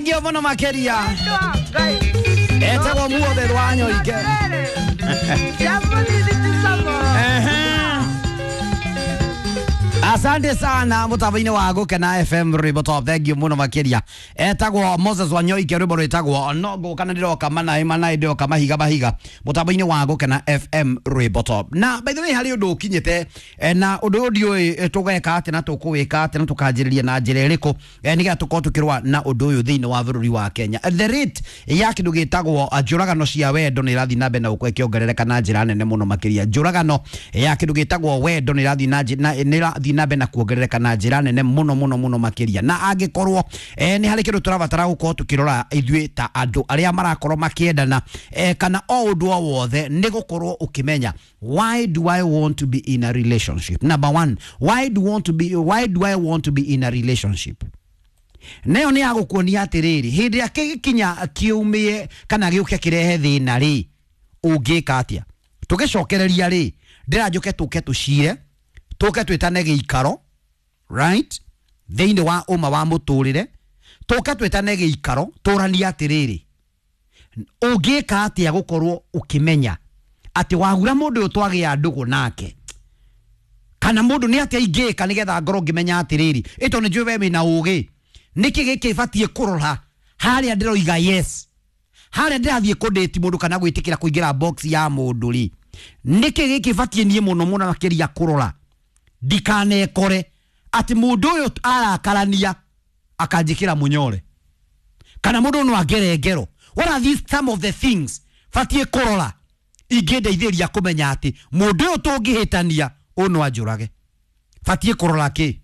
Thank you muno makeria. Etagwo muothe rwanyoike. Asante sana mutabaine wa Gukena FM rwimbo top. Thank you muno makiria. Etagwo Moses Wanyoike rwimbo rwitagwo no guka na ndiroka manai manai ndiroka mahiga mahiga mutabaine wa Gukena FM rwimbo top. Na by the way hari undu ukinyite na undu uyu ndiui tugeka atia na tukuwika atia na tukanjiriria na njira iriku nigetha tukorwo tukirwa na undu uyu thiini wa bururi wa Kenya. The rate ya kindu gitagwo njuragano cia wendo ni irathi na mbere na gukorwo ikiongerereka na njira nene muno makiria. Njuragano ya kindu gitagwo wendo ni irathi na ni irathi na mbere na kuongerereka na njira nene muno muno muno makiria. Na angikorwo ni hari kindu turabatara gukorwo tukirora ithuĩ ta andu aria marakorwo makiendana kana o undu o wothe ni gukorwo ukimenya why do I want to be in a relationship. Number one, why do I want to be in a relationship? Nayo ni agukuonia atiriri hindi ya kigikinya kiumie kana giuke kirehe thina ri ungika atia. Tugicokereria ri ndiranjuke tuke tucire tuke twitane giikaro right thiini wa uma wa muturire tuke twitane giikaro turanie atiriri ungika atia gukorwo ukimenya ati wagura mundu uyu twagia ndugu nake kana mundu ni atia ingika nigetha ngorwo ngimenya atiriri ito ni njui we wina ugi niki giki batie kurora haria ndiroiga yes haria ndirathie kudate mundu kana gwitikira kuingira box ya mundu ri niki giki batie nie muno muno makiria kurora ndikanekore ati mundu uyu arakarania akanjikira munyore kana mundu no angere ngero. What are these some of the things batie kurora ingĩndeithĩria kũmenya atĩ mũndũ ũyũ tũngĩhĩtania ũyũ no anjũrage. Batie kũrora kĩ?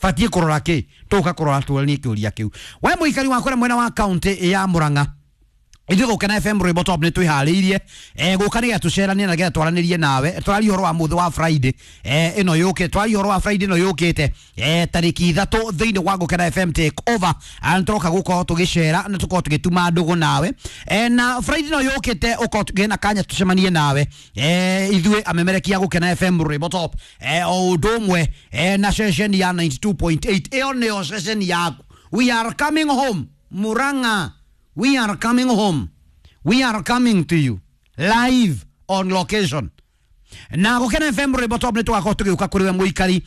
Batie kũrora kĩ? Tũka kũrora tũranie kĩũria kĩu. We mũikari wa kũrĩa mwena wa kaunti ya Murang'a, ithuĩ Gukena FM rwimbo top nĩ twĩharĩirie gũka nĩgetha tũceranie na nĩgetha twaranĩrie nawe. Tũraria ũhoro wa mũthĩ wa Friday ĩno yũkĩte, twaria ũhoro wa Friday ĩno yũkĩte tarĩki 3 thĩinĩ wa Gukena FM take over na tũroka gũkorwo tũgĩcera na tũkorwo tũgĩtuma ndũgũ nawe na Friday ĩno yũkĩte ũkorwo tũgĩe na kanya tũcemanie nawe ithuĩ amemerekia Gukena FM rwimbo top o ũndũ ũmwe na ceceni ya 92.8 ĩyo nĩyo ceceni yaku. We are coming home Murang'a. We are coming home. We are coming to you live on location. Na Gukena FM rwimbo top nĩ tũgakorwo tũgĩũka kũrĩ we mũikari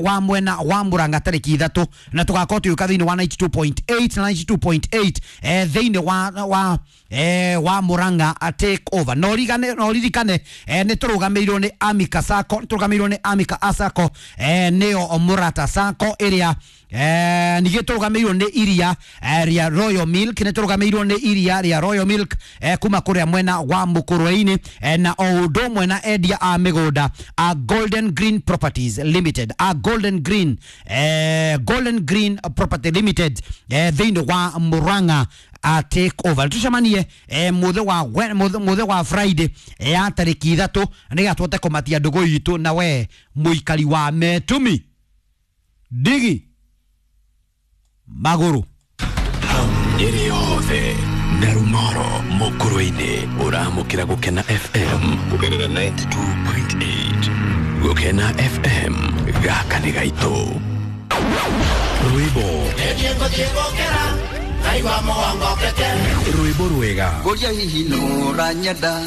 wa mwena wa Murang'a tarĩki 3 na tũgakorwo tũgĩũka thĩinĩ wa 92.8 na 92.8 thĩinĩ wa Murang'a take over. No ririkane nĩ tũrũgamĩirwo nĩ Amika Sacco, tũrũgamĩirwo nĩ Amika Sacco nĩyo Murata Sacco ĩrĩa ningĩ tũrũgamĩirwo nĩ iria rĩa Royal Milk, nĩ tũrũgamĩirwo nĩ iria rĩa Royal Milk kuma kũrĩa mwena wa Mũkũrwe-inĩ na o ũndũ ũmwe na endia a mĩgũnda a Golden Green Properties Limited, a Golden Green Property Limited thĩinĩ wa Murang'a a take over. Tucemanie muthe wa Friday ya tarĩki 3 nĩgetha tũhote kũmatia ndũgũ itũ na we mũikari wa Metumi Ndigi Maguru. Nyeri yothe na Rumoro Mukurwe-inĩ ũramũkĩra Gukena FM kũgerera 92.8. Gukena FM gaka nĩ gaitũ. Rwĩmbo rwĩmbo rwega Ngoria hihi nũranyenda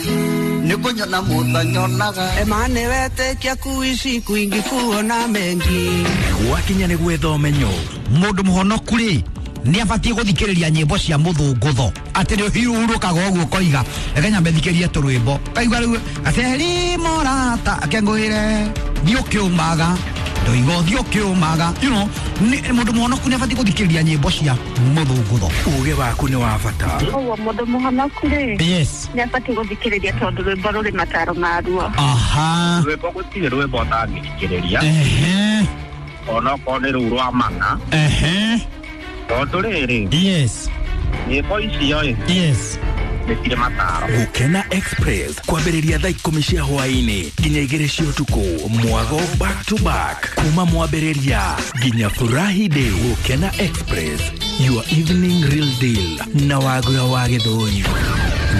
nĩngũnyona mũthanyonaga Emane wetekia kuishi kwingi kuona mengi gwakinya nĩ gwetha ũmenyo. Mũndũ mũhonoku rĩ nĩ abatie gũthikĩrĩria nyĩmbo cia mũthũngũtho atĩ nĩ ũhurũkaga ũguo ũkoiga reke nyambe thikĩrie tũrwĩmbo kaigua rĩu aceri morata akengũĩre thiĩ ũkĩũmaga ndoiga ũthiĩ ũkĩũmaga you know mũndũ mũhonoku nĩ abatie gũthikĩrĩria nyĩmbo cia mũthũngũtho. Ũgĩ waku nĩ wa bata. Ũguo mũndũ mũhonoku rĩ yes nĩ abatie gũthikĩrĩria tondũ rwĩmbo rũrĩ mataro maruo. Aha, rwĩmbo gũtirĩ rwĩmbo ũtangĩthikĩrĩria ehe onokorwo nĩ rũu rwa mana ehe tondũ rĩrĩ yes nyĩmbo icio ĩ yes nĩ cirĩ mataro. Gukena Express kwambĩrĩria thaa 10 cia hwaĩ-inĩ nginya 2 cia ũtukũ mwago back to back kuma mwambĩrĩria nginya furahi day. Gukena Express, your evening real deal na Wagura wa Gĩthũri.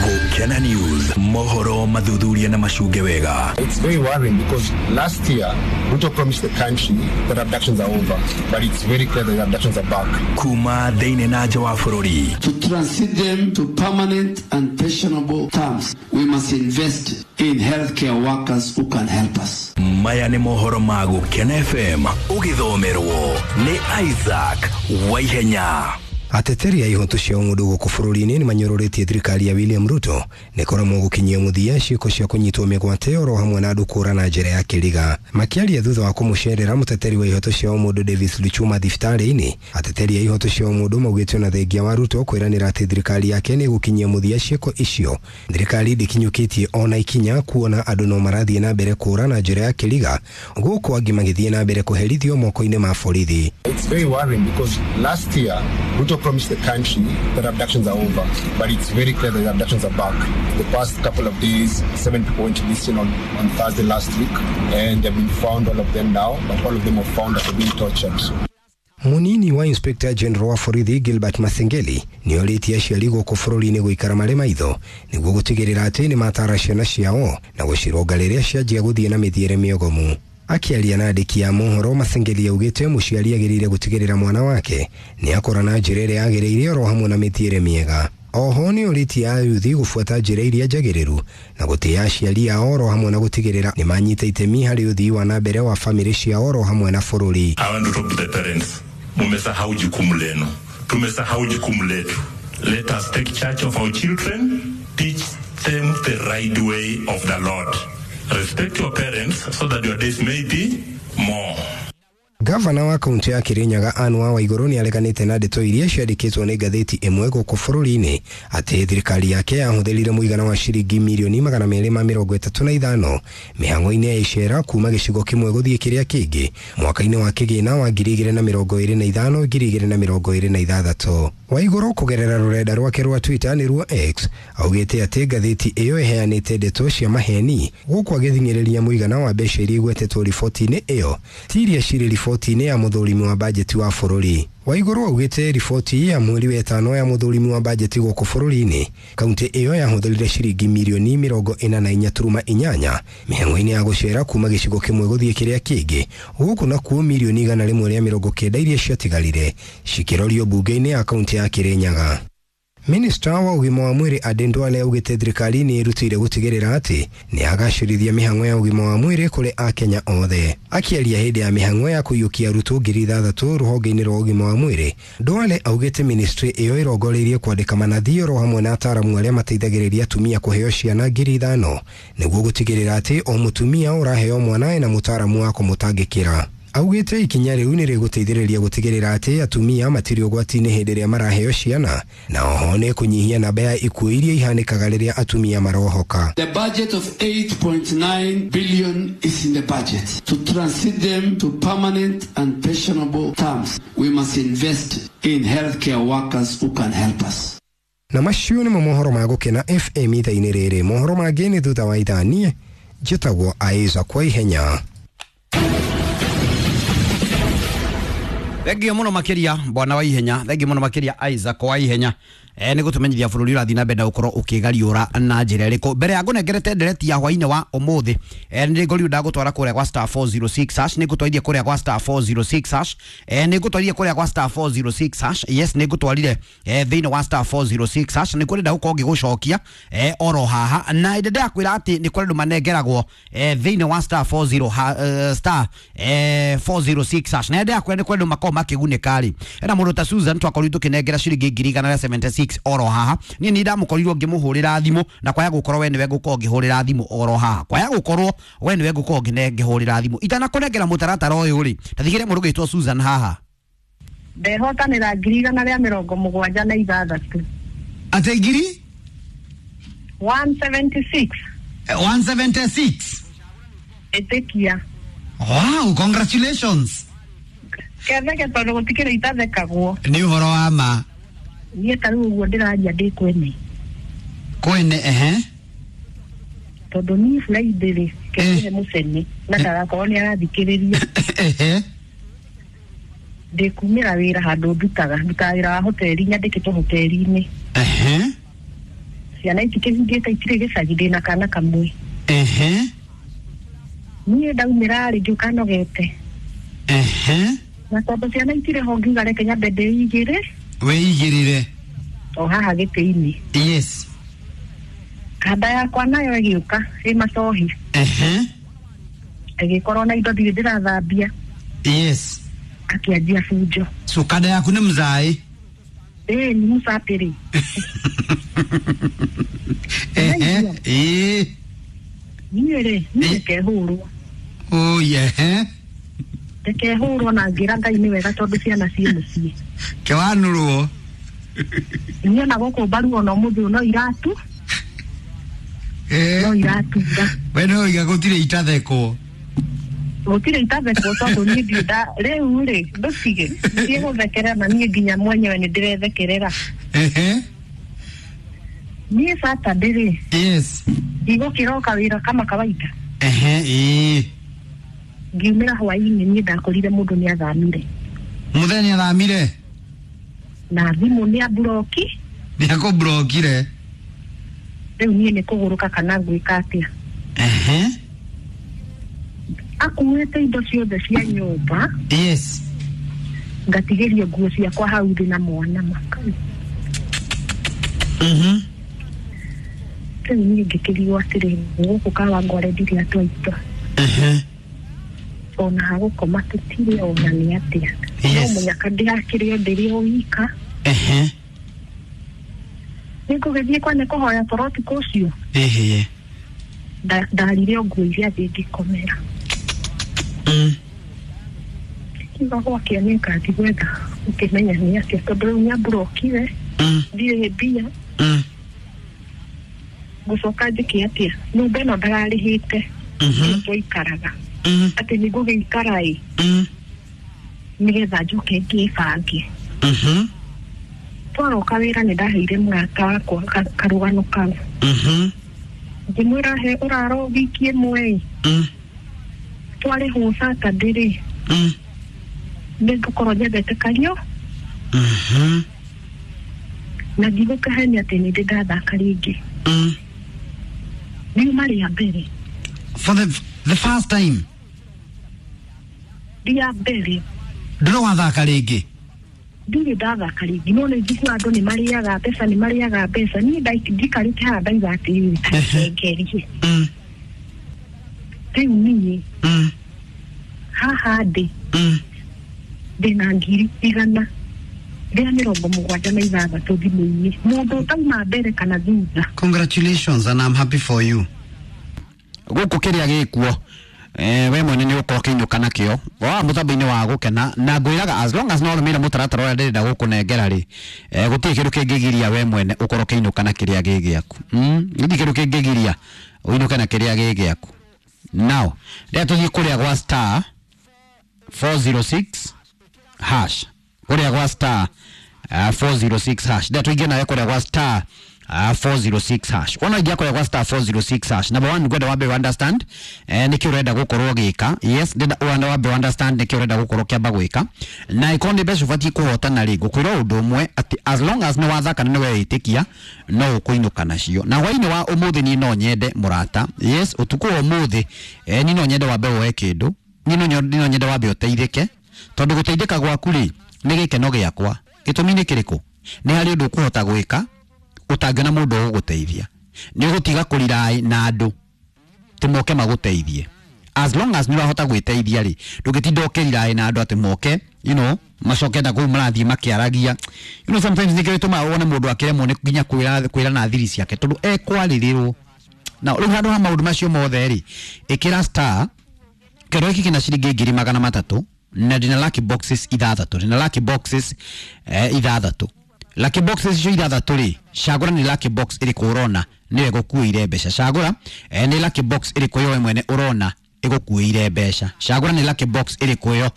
Gũkena News, mohoro mathuthuria na macunge wega. It's very worrying because last year Ruto promised the country that abductions are over, but it's very clear that abductions are back. Kuma thĩinĩ na nja wa bũrũri. To transit them to permanent and pensionable terms, we must invest in healthcare workers who can help us. Maya nĩ mohoro ma Gũkena FM ũgĩthomerwo nĩ Isaac Waihenya. Ateteri a ihoto cia ũmũndũ gũkũ bũrũri-inĩ nĩmanyũrũrĩtie thirikari ya William Ruto nĩ kũremwo gũkinyia mũthia ciĩko cia kũnyitwo mĩgwate oro hamwe na andũ kũra na njĩra ya kĩriga. Makĩaria thutha wa kũmũcerera mũteteri wa ihoto cia ũmũndũ Davis Luchuma thibitarĩ-inĩ, ateteri a ihoto cia ũmũndũ maugĩte ona thengia wa Ruto kwĩranĩra atĩ thirikari yake nĩ ĩgũkinyia mũthia ciĩko icio, thirikari ndĩkinyũkĩtie ona ikinya kuona andũ no marathiĩ na mbere kũra na njĩra ya kĩriga, gũkũ angĩ magĩthiĩ na mbere kũherithio moko-inĩ ma borithi. It's very worrying because last year Ruto promised the country that abductions are over, but it's very clear that abductions are back. The past couple of days, 7 people went missing on Thursday last week, and they've been found, all of them now, but all of them were found after being tortured. Munini wa Inspector General wa borithi Gilbert Masengeli nĩ orĩtie aciari gũkũ bũrũri-inĩ gũikara marĩ maitho nĩguo gũtigĩrĩra atĩ nĩ matara ciana ciao na gũcironga rĩrĩa cianjia gũthiĩ na mĩthiĩre mĩogomu. Akiaria na andĩki a mohoro, Masengeli augĩte mũciari agĩrĩire gũtigĩrĩra mwana wake nĩ akũra na njĩra ĩrĩa yagĩrĩire oro hamwe na mĩthiĩre mĩega. Oho nĩ orĩtie ayuthi gũbuata njĩra iria njagĩrĩru na gũtĩĩa aciari ao oro hamwe na gũtigĩrĩra nĩ manyita itemi harĩ ũthii wa na mbere wa famĩlĩ ciao oro hamwe na bũrũri. I want to talk to the parents. Mumesahau jukumu lenu. Tumesahau jukumu letu. Let us take charge of our children, teach them the right way of the Lord. Respect your parents so that your days may be more. Gavana wa kaunti ya Kirinyaga Anne Waiguru nĩ areganĩte na ndeto iria ciandĩkĩtwo nĩ ngathĩti ĩmwe gũkũ bũrũri-inĩ atĩ thirikari yake yahũthĩrire mũigana wa ciringi mirioni 235 mĩhang'o-inĩ ya icera kuma gĩcigo kĩmwe gũthiĩ kĩrĩa kĩngĩ mwaka-inĩ wa kĩgĩna wa 2025 2026. Waiguru kũgerera rũrenda rwake rwa Twitter nĩruo X augĩte atĩ ngathĩti ĩyo ĩheanĩte ndeto cia maheni gũkũ agĩthing'ĩrĩria mũigana wa mbeca iria igwetetwo riboti-inĩ ĩyo ti iria cirĩ riboti-inĩ ya mũthũrimi wa bajeti wa bũrũri. Waiguru augĩte riboti ya mweri wa ĩtano ya mũthũrimi wa bajeti gũkũ bũrũri-inĩ kaunti ĩyo yahũthĩrire ciringi mirioni 44.8 mĩhang'o-inĩ ya gũcera kuma gĩcigo kĩmwe gũthiĩ kĩrĩa kĩngĩ, gũkũ nakuo mirioni 190 iria ciatigarire cikĩrorio mbunge-inĩ ya kaunti ya Kirinyaga. Minista wa ũgima wa mwĩrĩ Aden Duale augĩte thirikari nĩ ĩrutĩire gũtigĩrĩra atĩ nĩ agacĩrithia mĩhang'o ya ũgima wa mwĩrĩ kũrĩ akenya othe. Akĩaria hĩndĩ ya mĩhang'o ya kũiyũkia arutwo 6,000 rũhonge-inĩ rwa ũgima wa mwĩrĩ, Duale augĩte ministry ĩyo ĩrongoreirie kwandĩka manathi oro hamwe na ataaramu arĩa mateithagĩrĩria atumia kũheo ciana 5,000 nĩguo gũtigĩrĩra atĩ o mũtumia ũraheo mwana ena mũtaaramu wa kũmũtangĩkĩra. Augĩte ikinya rĩu nĩ rĩgũteithĩrĩria gũtigĩrĩra atĩ atumia matirĩ ũgwati-inĩ hĩndĩ ĩrĩa maraheo ciana na oho nĩ kũnyihia namba ya ikuũ iria ihanĩkaga rĩrĩa atumia marohoka. The budget of 8.9 billion is in the budget. To transit them to permanent and pensionable terms, we must invest in healthcare workers who can help us. Na macio nĩmo mohoro ma Gũkena FM ithaa-inĩ rĩrĩ. Mohoro mangĩ nĩ thutha wa ithaa. Niĩ njĩtagwo Isaac Waihenya. Thengio muno makiria bwana wa ihenya, thengio muno makiria Isaac wa ihenya. Nĩ gũtũmenyithia bũrũri ũrathiĩ na mbere na gũkorwo ũkĩgariũra na njĩra ĩrĩkũ. Mbere ya ngũnengerete ndereti ya hwainĩ wa ũmũthĩ, nĩ ngũriũ ndagũtwara kũrĩa gwa star 406 hash, nĩ ngũtwarithia kũrĩa gwa star 406 hash, nĩ ngũtwarithia kũrĩa gwa star 406 hash. Yes, nĩ ngũtwarire thĩinĩ wa star 406 hash, nĩ kũrĩ ndagũkorwo ngĩgũcokia oro haha, na ĩndĩ ndakwĩra atĩ nĩ kũrĩ andũ manengeragwo thĩinĩ wa star 40 star 406 hash, na ndakwĩra nĩ kũrĩ andũ makoragwo makĩgunĩka rĩ. Ena mũndũ ta Susan twakorirwo tũkĩnengera ciringi 176 oro haha. Niĩ nĩ ndamũkorirwo ngĩmũhũrĩra thimũ, na kwaya gũkorwo we nĩwe ngũkorwo ngĩhũrĩra thimũ oro haha, kwaya gũkorwo we nĩwe ngũkorwo ngĩhũrĩra thimũ. Itanakũnengera mũtaratara ũyũ rĩ, tathigĩre mũndũ ũgĩtwo Susan haha. Ndehotanĩra 176. Atĩ ngiri 176. 176. Ĩtĩkia. Wow, congratulations. Ketheke tondũ gũtikĩrĩ itathekagwo. Nĩ ũhoro wa ma. Niĩ ta rĩu ũguo ndĩraria ndĩ kwene. Kwene, ehe. Tondũ niĩ Friday rĩ, kĩhe mũcene na ndagakorwo nĩ arathikĩrĩria. Ehe. Ndĩkumĩra wĩra handũ ndutaga, ndutaga wĩra wa hoteli, nyandĩkĩtwo hoteli-inĩ. Ehe. Ciana itikĩhingĩte itirĩ gĩcagi, ndĩna kana kamwe. Ehe. Niĩ ndaumĩra rĩ, ngĩũka nogete. Ehe. Na tondũ ciana itirĩ ho, ngiuga reke nyambe ndĩigĩre. Wĩigĩrĩre. O haha gĩtĩ-inĩ. Yes. Kanda yakwa nayo ĩgĩũka ĩ macohi. Ehe. Ĩgĩkorwo na indo ndirĩ ndĩrathambia. Yes. Akĩanjia bunjo. So kanda yaku nĩ mzaĩ? Ĩĩ, nĩ mũcapĩrĩ. Ehe. Ĩĩ. Niĩ rĩ, niĩ ndikehũrwo. Oh, ehe. Ndikehũrwo na ngĩra Ngai nĩ wega tondũ ciana ciĩ mũciĩ. Kĩwanũrwo. Niĩ ona gũkũ mbaru ona ũmũthĩ ũyũ no iratu. No iratura. We no iga gũtirĩ itathekwo. Gũtirĩ itathekwo tondũ niĩ ndirĩ nda rĩu rĩ, ndũtige thiĩ gũthekerera na niĩ nginya mwenyewe nĩ ndĩrethekerera. Ehe. Niĩ Saturday rĩ. Yes. Ndigũkĩroka wĩra kama kawaida. Ehe, ĩĩ. Ngiumĩra hwaĩ-inĩ niĩ ndakorire mũndũ nĩ athamire. Mũthenya athamire? Na thimũ nĩ amburoki. Nĩ akũmburokire. Rĩu niĩ nĩ kũgũrũka kana ngwĩka atĩa? Ehe. Akuĩte indo ciothe cia nyũmba. Yes. Ngatigĩrio nguo ciakwa hau thĩ na mwana makai. Mhm. Rĩu niĩ ngĩkĩrigwo atĩrĩ, gũkũ Kawangware ndirĩ andũ aitũ. Ehe. Ona ha gũkoma tũtirĩ ona nĩ atĩa. Yes. No mũnyaka ndĩrakĩrĩ o ndĩrĩ o wika. Ehe. Nĩngũgĩthiĩ kwa nĩ kũhoya toro ũtukũ ũcio. Ehe. Ndarire o nguo iria thĩ ngĩkomera. Kiuga gwakĩa nĩ ngathiĩ gwetha ũkĩmenya nĩ atĩa tondũ rĩu nĩamburokire. Ndirĩ mbia. Ngũcoka njĩke atĩa? Nyũmba ĩno ndararĩhĩte. Twaikaraga. Atĩ nĩngũgĩikara ĩ. Nĩgetha njoke ngĩbange. Twaroka wĩra nĩ ndaheire mũrata wakwa karũgano kau. Ngĩmwĩra he ũraro wiki ĩmwe ĩ. Twarĩhwo Saturday rĩ. Nĩngũkorwo nyendete kario. Na ndigũkahenia atĩ nĩ ndĩ ndathaka rĩngĩ. Riuma rĩa mbere. For the first time. Rĩa mbere. Ndũrĩ wathaka rĩngĩ? Ndirĩ ndathaka rĩngĩ, no nĩ njiguaga andũ nĩ marĩaga mbeca, nĩ marĩaga mbeca. Niĩ njikarĩte haha ndauga atĩrĩrĩ, ta reke ngerie. Rĩu niĩ haha ndĩ ndĩna 176,000 thimũ-inĩ. Mũndũ ũtauma mbere kana thutha. Congratulations and I'm happy for you. Gũkũ kĩrĩa gĩkuo we mwene nĩ ũkorwo ũkĩinũka nakĩo wa mũtambo-inĩ wa gũkena, na ngwĩraga as long as no ũrũmĩrĩre mũtaratara ũrĩa ndĩrenda gũkũnengera rĩ, gũtirĩ kĩndũ kĩngĩgiria we mwene ũkorwo ũkĩinũka na kĩrĩa gĩ gĩaku. Gũtirĩ kĩndũ kĩngĩgiria ũinũke na kĩrĩa gĩ gĩaku. Now rĩrĩa tũthiĩ kũrĩa gwa star 406 hash, kũrĩa gwa star 406 hash, rĩrĩa tũingĩ nawe kũrĩa gwa star 406 hash, wona ingia kũrĩa gwa star 406 hash, number 1 ngwenda wambe understand nĩkĩ ũrenda gũkorwo ũgĩka. Yes, ndĩrenda wambe understand nĩkĩ ũrenda gũkorwo ũkĩamba gwĩka, na ikorwo nĩ mbeca ũbatiĩ kũhotana rĩ, ngũkwĩra ũndũ ũmwe atĩ as long as nĩ wathaka na nĩ weĩtĩkia no ũkũinũka nacio. Na hwaĩ-inĩ wa ũmũthĩ niĩ no nyende mũrata, yes, ũtukũ wa ũmũthĩ niĩ no nyende wambe woe kĩndũ, niĩ no nyende wambe ũteithĩke, tondũ gũteithĩka gwaku rĩ nĩ gĩkeno gĩakwa. Gĩtũmi nĩ kĩrĩkũ? Nĩ harĩ ũndũ ũkũhota gwĩka ũtangĩona mũndũ ũgũgũteithia. Nĩ ũgũtiga kũrirai na andũ atĩ moke magũteithie. As long as nĩ ũrahota gwĩteithia rĩ, ndũngĩtinda ũkĩrirai na andũ atĩ moke, you know, macoke na kũu marathiĩ makĩaragia. You know, sometimes nĩkĩo gĩtũmaga wone mũndũ akĩremwo nĩ nginya kwĩra na thiri ciake tondũ ekwarĩrĩrwo. Na rĩu handũ ha maũndũ macio mothe rĩ, ĩkĩra star kĩndũ gĩkĩ kĩna ciringi 300,000 na ndĩna lucky boxes ithathatũ, ndĩna lucky boxes ithathatũ. Lucky boxes icio ithathatũ rĩ, cagũra nĩ lucky box ĩrĩkũ ũrona nĩyo ĩgũkuĩire mbeca. Cagũra nĩ lucky box ĩrĩkũ ĩyo we mwene ũrona ĩgũkuĩire mbeca. Cagũra nĩ lucky box ĩrĩkũ ĩyo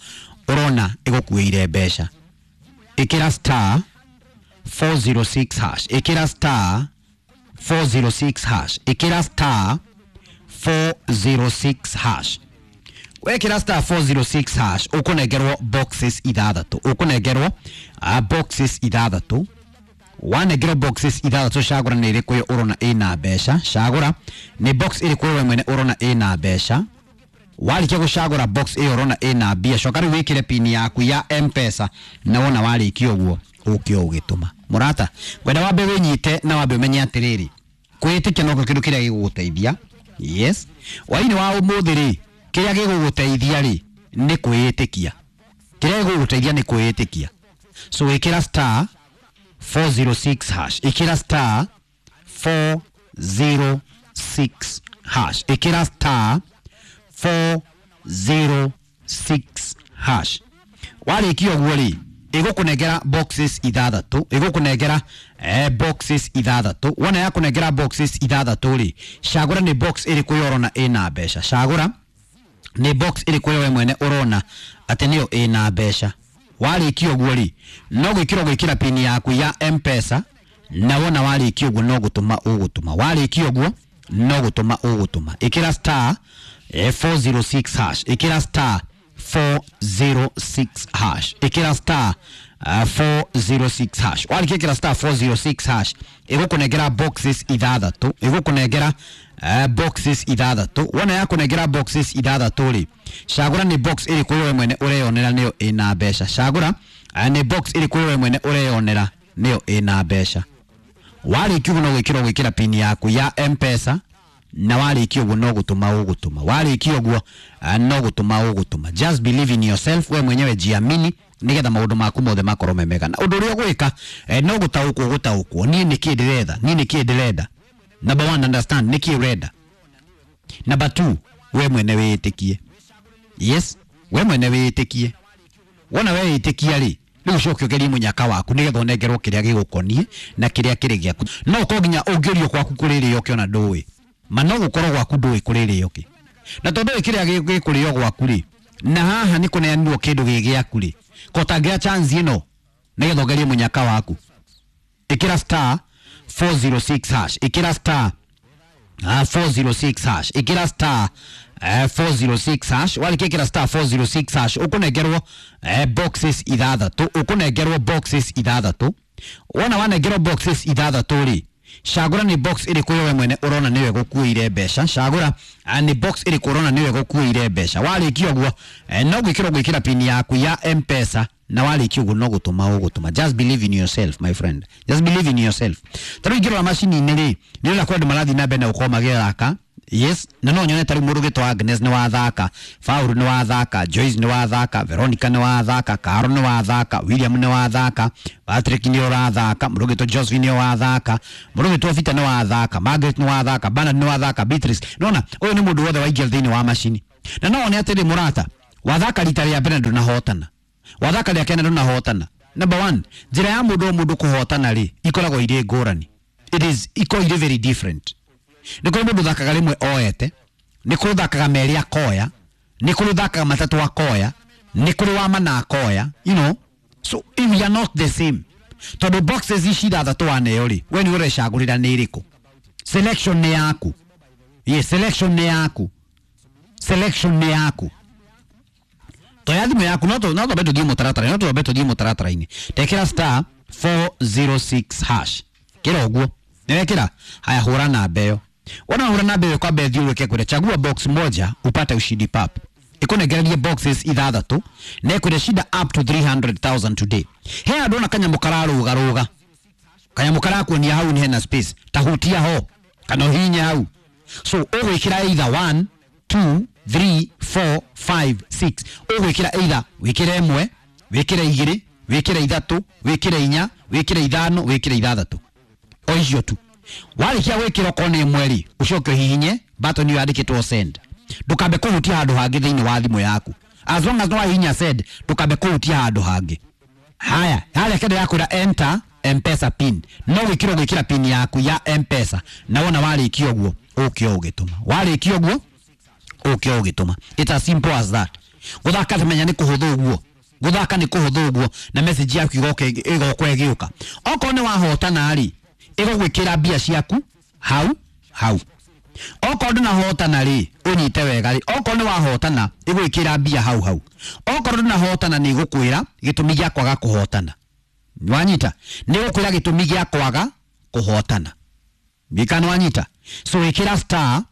ũrona ĩgũkuĩire mbeca. Ĩkĩra star 406 hash, ĩkĩra star 406 hash, ĩkĩra star 406 hash. Wekĩra star 406 hash ũkũnengerwo boxes ithathatũ, ũkũnengerwo boxes ithathatũ. Wanengerwo boxes ithathatũ, cagũra nĩ ĩrĩkũ ĩyo ũrona ĩna mbeca. Cagũra nĩ box ĩrĩkũ we mwene ũrona ĩna mbeca. Warĩkia gũcagũra box ĩyo ũrona ĩna mbia, coka rĩu wĩkĩre pin yaku ya Mpesa, na wona warĩkia ũguo ũke ũgĩtũma. Mũrata, ngwenda wambe wĩnyite na wambe ũmenye atĩrĩrĩ, kwĩĩtĩkia noko kĩndũ kĩrĩa gĩgũgũteithia. Yes, hwainĩ wa ũmũthĩ rĩ, kĩrĩa gĩgũgũteithia rĩ nĩ kwĩĩtĩkia. Kĩrĩa gĩgũgũteithia nĩ kwĩĩtĩkia. So ĩkĩra star 406 hash, ĩkĩra star 406 hash, ĩkĩra star 406 hash. Warĩkia ũguo rĩ, ĩgũkũnengera boxes ithathatũ, ĩgũkũnengera boxes ithathatũ. Wona yakũnengera boxes ithathatũ rĩ, cagũra nĩ box ĩrĩkũ yo ũrona ĩna mbeca. Cagũra nĩ box ĩrĩkũ yo we mwene ũrona atĩ nĩyo ĩna mbeca. Warĩkia ũguo rĩ, no gwĩkĩra ũgwĩkĩra pin yaku ya Mpesa, na wona warĩkia ũguo no gũtũma ũgũtũma. Warĩkia ũguo no gũtũma ũgũtũma. Ĩkĩra star 406 hash, ĩkĩra star 406 hash, ĩkĩra star 406 hash. Warĩkia ĩkĩra star 406 hash, ĩgũkũnengera boxes ithathatũ, ĩgũkũnengera boxes ithathatũ. Wona yakũnengera boxes ithathatũ rĩ, cagũra nĩ box ĩrĩkũ we mwene ũreyonera nĩyo ĩna mbeca. Cagũra nĩ box ĩrĩkũ we mwene ũreyonera nĩyo ĩna mbeca. Warĩkia ũguo no gwĩkĩra ũgwĩkĩra pin yaku ya Mpesa, na warĩkia ũguo no gũtũma ũgũtũma. Warĩkia ũguo no gũtũma ũgũtũma. Just believe in yourself, we mwenyewe jiamini, nigetha maũndũ maku mothe makorwo me mega. Na ũndũ ũrĩa ũgwĩka no gũtaũkwo gũtaũkwo, niĩ nĩkĩ ndĩretha, niĩ nĩkĩ ndĩrenda. Number one, understand nĩkĩ ũrenda. Number two, we mwene wĩĩtĩkie. Yes, we mwene wĩĩtĩkie. Wona weyĩtĩkia rĩ, rĩu ũcoke ũgerie mũnyaka waku nĩgetha ũnengerwo kĩrĩa gĩgũkoniĩ na kĩrĩa kĩrĩ gĩaku. No ũkorwo nginya ũngĩũrio gwaku kũrĩ rĩo ona ndũĩ, ma no gũkorwo gwaku ndũĩ kũrĩ rĩo kĩ, na tondũ ndũĩ kĩrĩa gĩkũrĩo gwaku rĩ, na haha nĩ kũneanirwo kĩndũ gĩ gĩaku rĩ, ko ũtangĩoya chance ĩno nĩgetha ũgerie mũnyaka waku. Ĩkĩra star 406 hash, ĩkĩra star 406 hash, ĩkĩra star 406 hash. Warĩkia ĩkĩra star 406 hash, ũkũnengerwo boxes ithathatũ, ũkũnengerwo boxes ithathatũ. Wona wanengerwo boxes ithathatũ rĩ, cagũra nĩ box ĩrĩkũ we mwene ũrona nĩyo ĩgũkuĩire mbeca. Cagũra nĩ box ĩrĩkũ ũrona nĩyo ĩgũkuĩire mbeca. Warĩkia ũguo no gwĩkĩra ũgwĩkĩra pin yaku ya Mpesa, na warĩkia ũguo no gũtũma ũgũtũma. Just believe in yourself, my friend, just believe in yourself. Ta rĩu ingĩrora macini-inĩ rĩ, nĩ ndĩrona kwĩ andũ marathiĩ na mbere na gũkorwo magĩthaka. Yes, na no nyone ta rĩu mũndũ ũgĩtwo Agnes nĩ wathaka, Faulu nĩ wathaka, Joyce nĩ wathaka, Veronica nĩ wathaka, Caro nĩ wathaka, William nĩ wathaka, Patrick nĩ ũrathaka, mũndũ ũgĩtwo Josephine nĩ wathaka, mũndũ ũgĩtwo Peter nĩ wathaka, Margaret nĩ wathaka, Bernard nĩ wathaka, Beatrice. Nona ũyũ nĩ mũndũ wothe waingĩra thĩinĩ wa macini. Na no one atĩrĩ mũrata, wathaka rita rĩa mbere ndũnahotana, wathaka rĩa kenda ndũnahotana. Number one, njĩra ya mũndũ o mũndũ kũhotana rĩ ikoragwo irĩ ngũrani. It is ikoragwo irĩ very different. Nĩ kũrĩ mũndũ ũthakaga rĩmwe oete, nĩ kũrĩ ũthakaga merĩ akoya, nĩ kũrĩ ũthakaga matatũ akoya, nĩ kũrĩ wa mana akoya, you know. So if we are not the same. Tondũ boxes ici ithathatũ waneo rĩ, we nĩ ũrecagũrĩra nĩ ĩrĩkũ. Selection nĩ yaku. Yes, selection nĩ yaku. Selection nĩ yaku. Toya thimũ yaku, no twambe tũthiĩ mũtaratara, no twambe tũthiĩ mũtaratara-inĩ. Tekĩra star 406 hash. Kĩra ũguo. Nĩwekĩra? Haya, hũra namba ĩyo. Wona hũra namba ĩyo kwamba ĩthiũrũrũke kwĩre chagua box moja upate ushindi pap. Ĩkũnengererie boxes ithathatũ na ĩkwĩre shinda up to 300,000 today. He andũ ona kanyamũ kararũgarũga, kanyamũ karakuonia hau nĩ hena space, ta hutia ho kana ũhihinye hau. So ũgwĩkĩra either 1 2 3 4 5 6, ũgwĩkĩra either wĩkĩre ĩmwe, wĩkĩre igĩrĩ, wĩkĩre ithatũ, wĩkĩre inya, wĩkĩre ithano, wĩkĩre ithathatũ, o icio tu. Warĩkia gwĩkĩra okorwo nĩ ĩmwe rĩ, ũcoke ũhihinye button ĩyo yandĩkĩtwo send. Ndũkambe kũhutia handũ hangĩ thĩinĩ wa thimũ yaku. As long as no wahihinya send, ndũkambe kũhutia handũ hangĩ. Haya, harĩa kĩndũ yakwĩra enter Mpesa pin, no gwĩkĩra ũgwĩkĩra pin yaku ya Mpesa, na wona warĩkia ũguo ũke ũgĩtũma. Warĩkia ũguo ũke ũgĩtũma. It's as simple as that. Gũthaka tamenya nĩ kũhũthũ ũguo, gũthaka nĩ kũhũthũ ũguo, na message yaku ĩgoka ĩgĩũka. Okorwo nĩ wahotana rĩ, ĩgũgwĩkĩra mbia ciaku hau hau. Okorwo ndũnahotana rĩ, ũnyite wega rĩ, okorwo nĩ wahotana ĩgwĩkĩra mbia hau hau. Okorwo ndũnahotana nĩ ĩgũkwĩra gĩtũmi gĩa kwaga kũhotana. Wanyita nĩ gũkwĩra gĩtũmi gĩa kwaga kũhotana. Gĩkano wanyita. So ĩkĩra star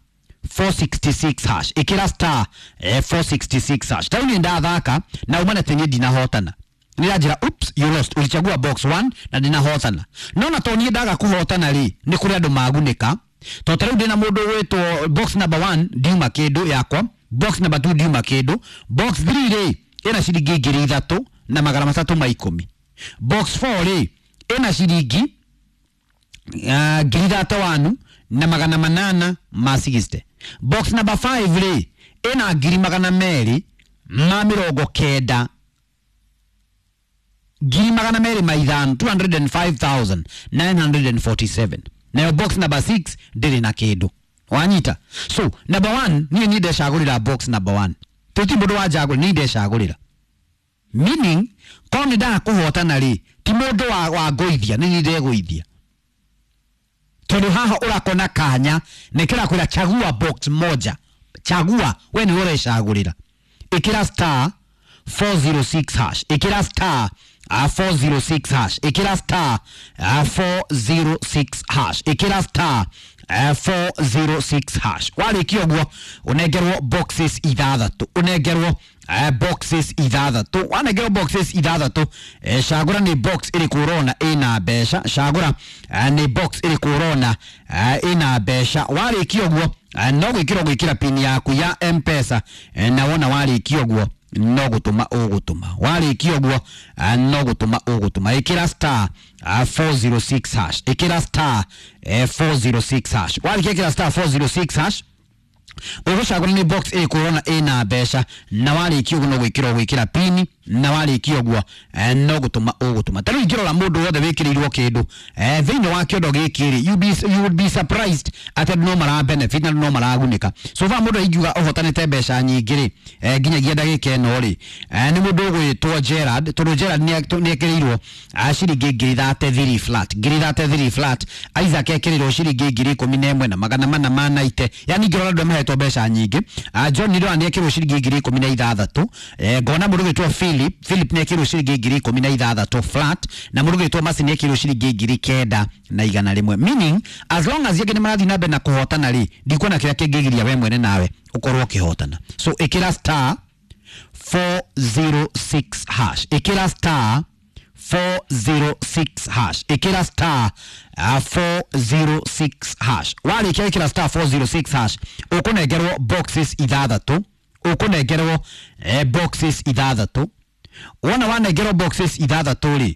466 hash, ĩkĩra star 466 hash. Tarĩu niĩ ndathaka na uma na tenye ndinahotana, nĩranjĩra oops, you lost, ulichagua box 1 na ndinahotana. No na to niĩ ndaga kũhotana rĩ, nĩ kũrĩ andũ magunĩka. To tarĩu ndĩna mũndũ ũgwĩtwo box number 1 ndiuma kĩndũ yakwa, box number 2 ndiuma kĩndũ, box 3 rĩ ĩna ciringi 3310, box 4 rĩ ĩna ciringi 31860, box number 5 rĩ ĩna 290,000, 205,000, 205,947. Nayo box number 6 ndĩrĩ na kĩndũ. Wanyita. So number 1 niĩ niĩ ndecagũrĩra box number 1, tũti mũndũ wanjagũrĩra, niĩ ndecagũrĩra. Meaning korwo nĩ ndaga kũhotana rĩ, ti mũndũ wa ngũithia, nĩ niĩ ndegũithia. Tondũ haha ũrakona kanya nĩ kĩrakwĩra chagua box moja, chagua, we nĩwe ũrecagũrĩra. Ĩkĩra star 406 hash, ĩkĩra star 406 hash, ĩkĩra star 406 hash, ĩkĩra star 406 hash. Warĩkia ũguo ũnengerwo boxes ithathatũ, ũnengerwo boxes ithathatũ. Wanengerwo boxes ithathatũ, cagũra nĩ box ĩrĩkũ ũrona ĩna mbeca, cagũra nĩ box ĩrĩkũ ũrona ĩna mbeca. Warĩkia ũguo no gwĩkĩra gwĩkĩra pin yaku ya M-Pesa, na wona warĩkia ũguo no gũtũma ũgũtũma. Warĩkia ũguo no gũtũma ũgũtũma. Ĩkĩra star 406 hash, ĩkĩra star 406 hash. Warĩkia ĩkĩra star 406 hash, ũgũcagũra nĩ box ĩrĩkũ ũrona ĩna mbeca, na warĩkia ũguo no gwĩkĩra ũgwĩkĩra pini, na warĩkia ũguo no gũtũma ũgũtũma. Ta rĩu ingĩrora mũndũ wothe wĩkĩrĩirwo kĩndũ thĩinĩ wa kĩondo gĩkĩ rĩ, you would be surprised atĩ andũ no mara benefit na andũ no maragunĩka. So far mũndũ ingiuga ũhotanĩte mbeca nyingĩ rĩ, nginyagia ndagĩka ĩno rĩ, nĩ mũndũ ũgwĩtwo Gerard, tondũ Gerard nĩ ekĩrĩirwo ciringi 33,000 flat, 33,000 flat. Isaac ekĩrĩirwo ciringi 11,490. Yani ingĩrora andũ mahetwo mbeca nyingĩ. John Nĩndĩrona nĩ ekĩrĩirwo ciringi 16,000. Ngona mũndũ ũgwĩtwo Philip nĩ ekĩrĩirwo ciringi 16,000 flat, na mũndũ ũgwĩtwo Mercy nĩ ekĩrĩirwo ciringi 9,100. Meaning as long as angĩ nĩ marathiĩ na mbere na kũhotana rĩ, ndikuona kĩrĩa kĩngĩgiria we mwene nawe ũkorwo ũkĩhotana. So ĩkĩra star 406 hash, ĩkĩra star 406 hash, ĩkĩra star 406 hash. Warĩkia ĩkĩra star 406 hash, ũkũnengerwo boxes ithathatũ, ũkũnengerwo boxes ithathatũ. Wona wanengerwo boxes ithathatũ rĩ,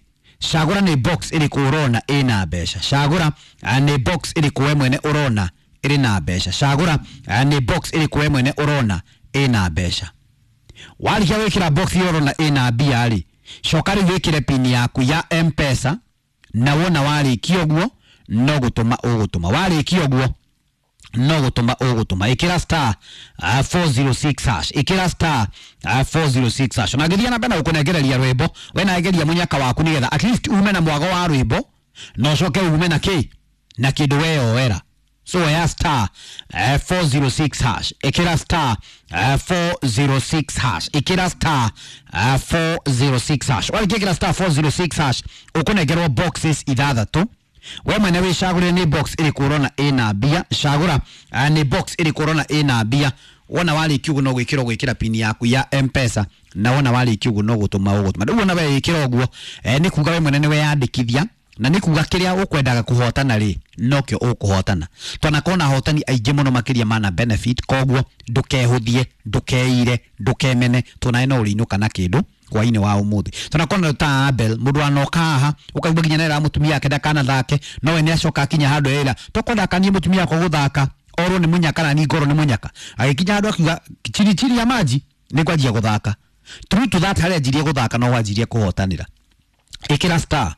cagũra nĩ box ĩrĩkũ ũrona ĩna mbeca, cagũra nĩ box ĩrĩkũ we mwene ũrona ĩrĩ na mbeca, cagũra nĩ box ĩrĩkũ we mwene ũrona ĩna mbeca. Warĩkia gwĩkĩra box ĩyo ũrona ĩna mbia rĩ, coka rĩu wĩkĩre pin yaku ya M-Pesa, na wona warĩkia ũguo no gũtũma ũgũtũma. Warĩkia ũguo no gũtũma ũgũtũma. Ĩkĩra star 406 hash, ĩkĩra star 406 hash. Na ngĩthiĩ na mbere na gũkũnengereria rwĩmbo, we nageria mũnyaka waku nĩgetha at least ume na mwago wa rwĩmbo na ũcoke ume na kĩ na kĩndũ weyoera. So ya star 406 hash, ĩkĩra star 406 hash, ĩkĩra star 406 hash. Warĩkia ĩkĩra star 406 hash, ũkũnengerwo boxes ithathatũ. We mwene wĩcagũrĩre nĩ box ĩrĩkũ ũrona ĩna mbia, cagũra nĩ box ĩrĩkũ ũrona ĩna mbia. Wona warĩkia ũguo no gwĩkĩra ũgwĩkĩra pin yaku ya M-Pesa, na wona warĩkia ũguo no gũtũma ũgũtũma. Rĩu wona we ĩkĩra ũguo nĩ kuga we mwene nĩ weyandĩkithia, na nĩ kuga kĩrĩa ũkwendaga kũhotana rĩ nokĩo ũkũhotana. Twanakorwo ahotani aingĩ mũno makĩria mana benefit, koguo ndũkehũthie, ndũkeire, ndũkemene, tondũ no ũrĩinũka na kĩndũ hwainĩ wa ũmũthĩ. Tunakorwo ta Abel mũndũ anoka haha ũkaigua nginya nera mũtumia ake ndakanathake, no we nĩacoka akinya handũ era tokwenda akanie mũtumia wakwa gũthaka orwo nĩ mũnyaka na niĩ ngorwo nĩ mũnyaka, agĩkinya handũ akiuga chini chini ya maji nĩ ngwanjia gũthaka. True to that, harĩa anjirie gũthaka no wanjirie kũhotanĩra. Ĩkĩra star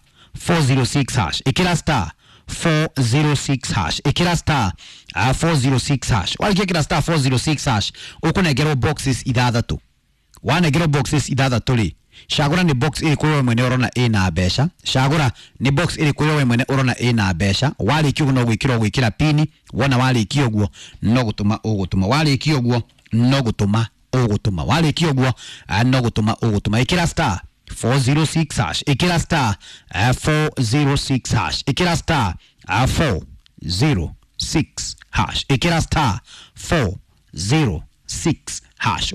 406 hash, ĩkĩra star 406 hash, ĩkĩra star 406 hash. Warĩkia ĩkĩra star 406 hash, ũkũnengerwo boxes ithathatũ. Wanengerwo boxes ithathatũ rĩ, cagũra nĩ box ĩrĩkũ we mwene ũrona ĩna mbeca, cagũra nĩ box ĩrĩkũ we mwene ũrona ĩna mbeca. Warĩkia ũguo no gwĩkĩra ũgwĩkĩra pini, wona warĩkia ũguo no gũtũma ũgũtũma. Warĩkia ũguo no gũtũma ũgũtũma. Warĩkia ũguo no gũtũma ũgũtũma. Ĩkĩra star 406 hash, ĩkĩra star 406 hash, ĩkĩra star 406 hash, ĩkĩra star 406 hash.